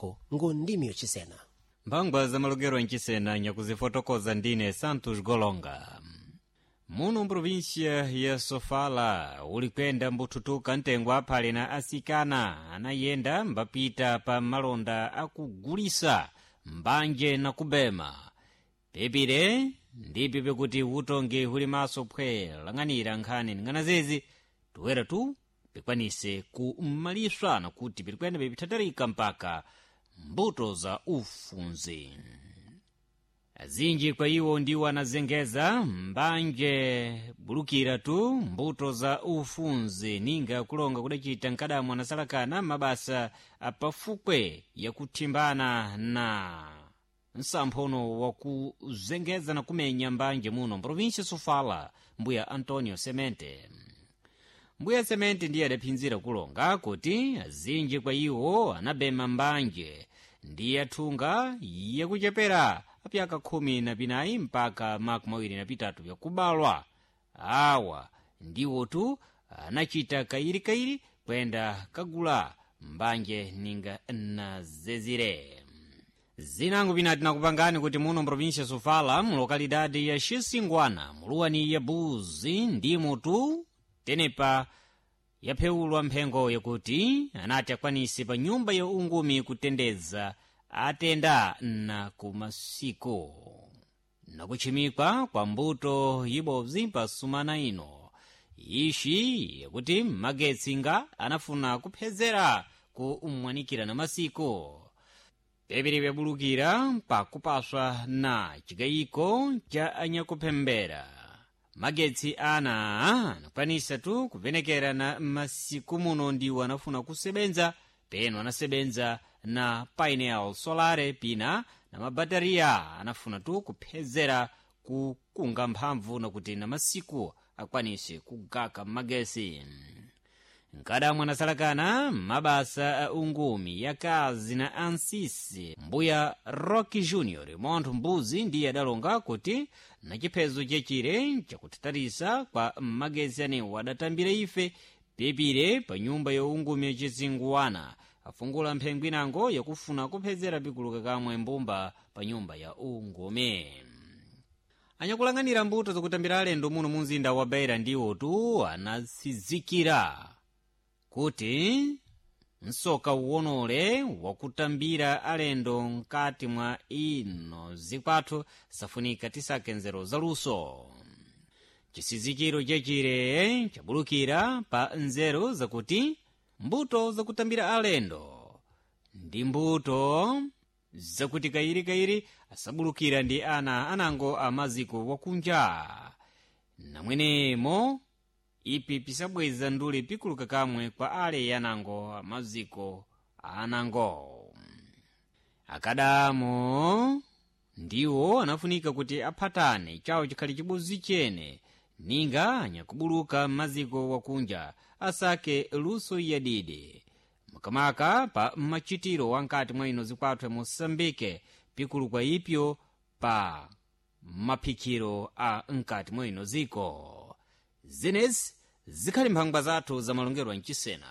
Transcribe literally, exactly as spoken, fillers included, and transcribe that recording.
kwako ngu ndimi yocisena. Mphangwa za malongero ancisena nyakuzifotokoza ndine Santos Golonga. Muno mprovinsia ya Sofala ulikwenda mbuthutuka mtengo aphale na asikana anayenda mbapita pa malonda akugulisa mbanje na kubema. Pepire ndipi pekuti utongi huli maso phwe lang'anira nkhani ning'anazezi tuwera tu pikwanise kumaliswa nakuti pilikwenda pipithatarika mpaka mbuto za ufunzi. Azinji kwa iwo ndiwo anazengeza mbanje bulukira tu mbuto za ufunzi ninga kulonga kudacita nkadamu anasalakana mabasa apafukwe yakuthimbana na nsamphono wakuzengeza na kumenya mbanje muno mprovinsia Sofala, mbuya Antonio Semente. Mbuya Semente ndiye adaphinzira kulonga kuti azinji kwa iwo anabema mbanje ndiye athunga yakuchepera apyaka khumi na pinayi mpaka makumi awiri na pitatu vyakubalwa. Awa ndiwotu anachita kayirikayiri kwenda kagula mbanje ninga nazezire. Zinango pinati nakupangani kuti muno mprovinsia Sofala mulokalidade ya Xisingwana muluwani ya Buzi ndimutu tenepa yaphewulwa mphengo yakuti anati akwanise pa nyumba ya ungumi kutendeza atenda na kumasiku nakuchimikwa kwa mbuto ibobzi pa sumana ino ishi yakuti magetsi nga anafuna kuphezera kumwanikira na masiku pepere pyabulukira pakupaswa na chikayiko cha anyakuphembera. Magetsi ana anakwanisa tu kuvenekera na masiku muno ndiwo anafuna kusebenza peno anasebenza na painel solare pina na mabatariya anafuna tu kuphezera kukunga mphamvu nakuti na masiku akwanise kugaka magesi. Nkadamu anasalakana mabasa a ungumi yakazi na ansisi mbuya Rocky Junior montho mbuzi ndiye adalonga kuti na chiphezo chechire chakuthatarisa kwa magesi anewo adatambira ife pepire pa nyumba ya ungumi yacizinguwana afungula mphengo inango yakufuna kuphezera pikuluka kamwe mbumba pa nyumba ya ungumi. Anyakulang'anira mbuto zakutambira alendo muno mu mzinda wa Beira ndiwo tu anasizikira kuti msoka uwonole wakutambira alendo mkati mwa ino zikwathu safunika tisake nzeru zaluso. Chisizikiro chechire chabulukira pa nzeru zakuti mbuto zakutambira alendo ndi mbuto zakuti kayirikayiri asabulukira ndi ana anango amaziko wakunja namwenemo ipi pisabweza ndule pikuluka kamwe kwa ale yanango amaziko anango. Akadamo ndiwo anafunika kuti aphatane chawo chikhali chibuzi chene ninga anyakubuluka m'maziko wakunja asake luso yadidi makamaka pa machitiro wankati mwa ino zikwathu ya Moçambique pikulukwa ipyo pa maphikiro a mkati mwa ino ziko. Zenezi zikhali mphangwa zathu zamalongedwa mchisena.